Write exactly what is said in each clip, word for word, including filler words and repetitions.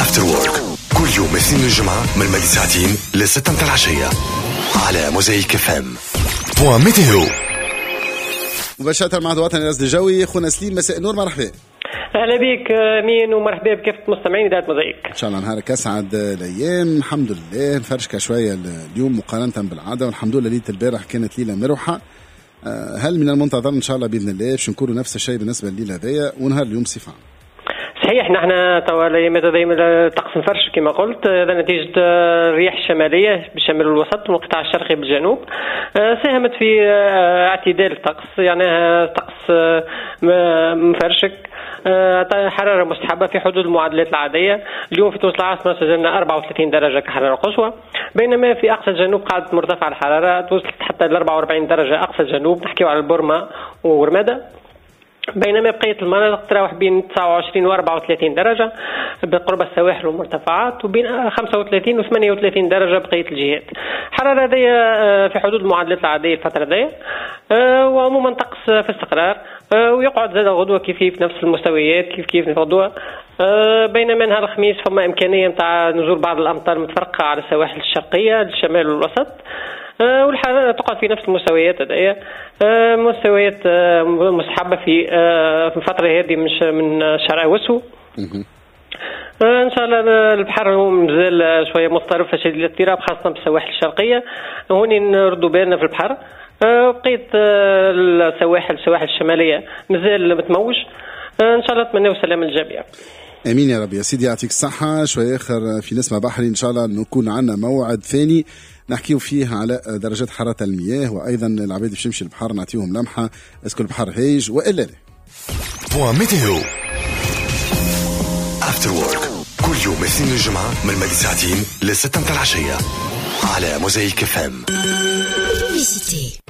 After Work كل يوم اثنين الجمعة من ماضي ساعتين لستة متاع العشية على موزايك FM. Point météo. مباشرة مع الوطني الرصد الجوي، خونا سليم، مساء النور، مرحبا. اهلا بك امين ومرحبا بكافة مستمعين اذاعة موزايك. ان شاء الله نهارك اسعد الايام. الحمد لله مفرشكه شوية اليوم مقارنة بالعاده، والحمد لله ليلة البارح كانت ليلة مروحه. آه، هل من المنتظر ان شاء الله باذن الله باش نكونوا نفس الشيء بالنسبة لليلة هذيا ونهار اليوم صفة؟ صحيح، نحن توا الايامات هذه الطقس مفرش كما قلت، هذا نتيجة الرياح الشمالية بالشمال والوسط والقطاع الشرقي بالجنوب، آه، ساهمت في آه، اعتدال الطقس، يعني طقس مفرشك، حرارة مستحبة في حدود المعدلات العادية. اليوم في تونس العاصمة سجلنا أربعة وثلاثين درجة كحرارة قصوى، بينما في أقصى الجنوب قعدت مرتفعة الحرارة، وصلت حتى ل أربعة وأربعين درجة أقصى الجنوب، نحكيو على البرمة ورمادة، بينما بقية المناطق تراوح بين تسعة وعشرين و أربعة وثلاثين درجة بقرب السواحل والمرتفعات، وبين خمسة وثلاثين و ثمانية وثلاثين درجة بقية الجهات. الحرارة هذه آه، في حدود المعدلات العادية الفترة هذه، آه، وعموما طقس في استقرار، آه، ويقعد زاد غدوة كيف كيف نفس المستويات، كيف كيف غدوة، بينما نهار الخميس فما إمكانية نتاع نزول بعض الأمطار المتفرقة على السواحل الشرقية، الشمال والوسط، والحرارة تقعد في نفس المستويات هذيا، مستويات مستحبة في في الفترة هذه مش من شهر أغسطس. ان شاء الله البحر مازال شوية مضطرب فشديد الاضطراب، خاصة بالسواحل الشرقيه، هوني نردوا بالنا في البحر. بقية السواحل، السواحل الشماليه، مازال متموج. ان شاء الله نتمنى السلام للجميع. امين يا رب. يا سيدي يعطيك الصحه. شوية اخر في نسمه بحري، ان شاء الله نكون عندنا موعد ثاني نحكيو فيه على درجات حرارة المياه، وايضا العباد باش يمشي البحر نعطيهم لمحه est-ce que البحر هايج والا لا. Point météo. After Work كل يوم اثنين الجمعة من ماضي ساعتين لستة متاع العشية على موزايك FM.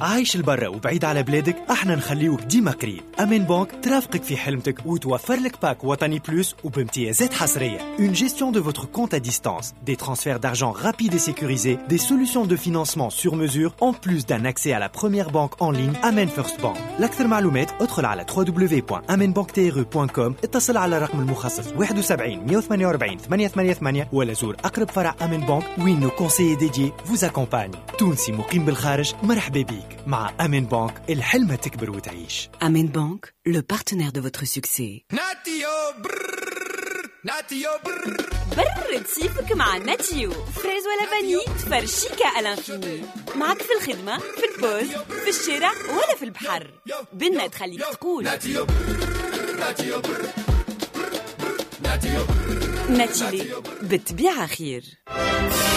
عايش البرا وبعيد على بلادك؟ احنا نخليوك ديما قريب. امان بانك ترافقك في حلمتك وتوفر لك pack وطني plus وبامتيازات حصريه. Une gestion de votre compte à distance, des transferts d'argent rapides et sécurisés, des solutions de financement sur mesure, en plus d'un accès à la première banque en ligne, Amen First Bank. لاكثر معلومات ادخل على دبليو دبليو دبليو دوت amenbanktr دوت com، اتصل على الرقم المخصص واحد وسبعين مية وثمانية وأربعين ثمانمية وثمانية وثمانين، ولا زور اقرب فرع امان بانك وين nos conseillers dédiés vous accompagnent. تونسي مقيم بالخارج، مرحبا بيك مع امان بانك، الحلمة تكبر وتعيش. Amen Bank, le partenaire de votre succès. ناتيو برر، ناتيو برر. برد صيفك مع ناتيو، fraise ولا vanille، تفرشيكا à l'infini. معك في الخدمة، في ال pause، في الشارع ولا في البحر، بنة تخليك تقول ناتيو برر، ناتيو برر، ناتيو. ناتيلي، بالطبيعة خير.